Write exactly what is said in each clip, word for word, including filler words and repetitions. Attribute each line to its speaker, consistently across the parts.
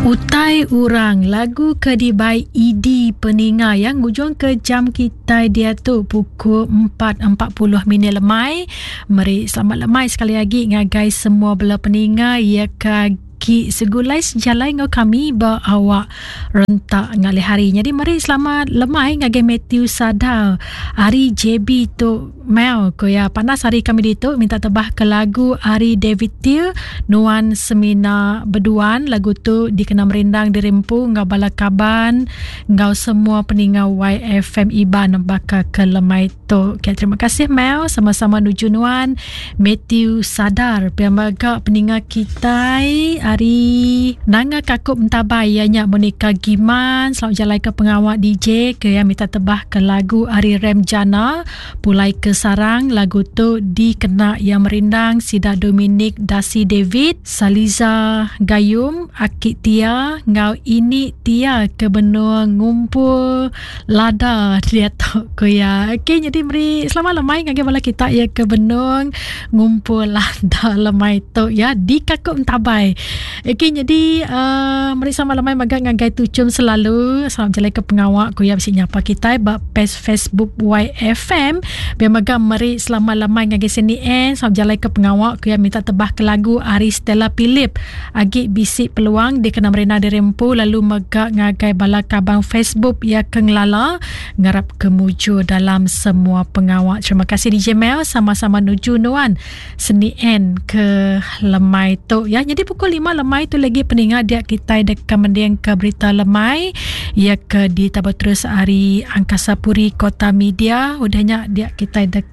Speaker 1: Utai Orang lagu ke dibai E D peninga yang ngujung ke jam kita dia tu pukul empat empat puluh minit lemai. Meri selamat lemai sekali lagi ngagai semua bela peninga ya ke ki segulai sejalai ngau kami ba awak rentak ngalih hari. Jadi meri selamat lemai ngagai Matthew Sadar hari J B tu Mel ko ya panas hari kami ditu minta tebah ke lagu ari David Till Nuan Semina Beduan. Lagu tu dikena merindang dirempu ngau bala kaban ngau semua peninga Y F M Iban baka ke lemai tu. Okay, terima kasih Mel, sama-sama nuju nuan Matthew Sadar. Pia mega peninga kita hari Nanga Kakup Entabai ianya Monica Giman selalu jalan ke pengawak D J ke yang minta tebah ke lagu ari Rem Jana Pulai ke Sarang. Lagu tu dikena yang merindang Sida Dominic Dasi David Saliza Gayum Akik Tia ngau ini Tia ke benua ngumpul lada dia tok ko ya. Okey, jadi meri selamat lemai ngagai bala kita ya ke benung ngumpul lada lemai tu ya di Kakup Entabai. Okey, jadi uh, meri selamat lemai maga ngagai tucum selalu. Salam jalan ke pengawak ku ya bisi nyapa kita ba page Facebook Y F M. Biar maga meri selamat lemai ngagai sini en. Salam jalan ke pengawak ku ya minta tebah ke lagu Ari Stella Philip. Agi bisi peluang dikena merina dirempu lalu mega ngagai bala kabang Facebook ya ke ngelala ngarap kemuju dalam semua pengawak. Terima kasih D J Mel, sama-sama nuju nuan seni en ke lemai tu ya. Jadi pukul lima lemai tu lagi peningat dia kita dekat mending ke berita lemai ya ke di tabar terus hari Angkasa Puri Kota Media. Udahnya dia kita dekat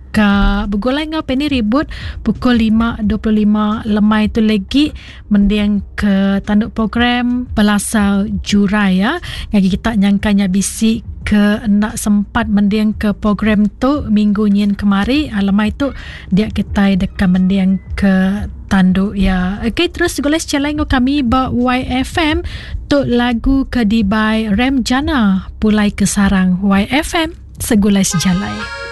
Speaker 1: bergulai ngau Penny Ribut pukul lima dua puluh lima lemai tu lagi mending ke tanduk program Pelasar Jurai ya. Ngagi kita nyangkanya bisik ke nak sempat mending ke program tu minggu nyin kemari lemai tu dia kita dekat mending ke tanduk ya. Okey, terus gulai sejalai ngau kami ba Y F M tu lagu ke dibai Rem Jana Pulai ke Sarang. Y F M segulai sejalai.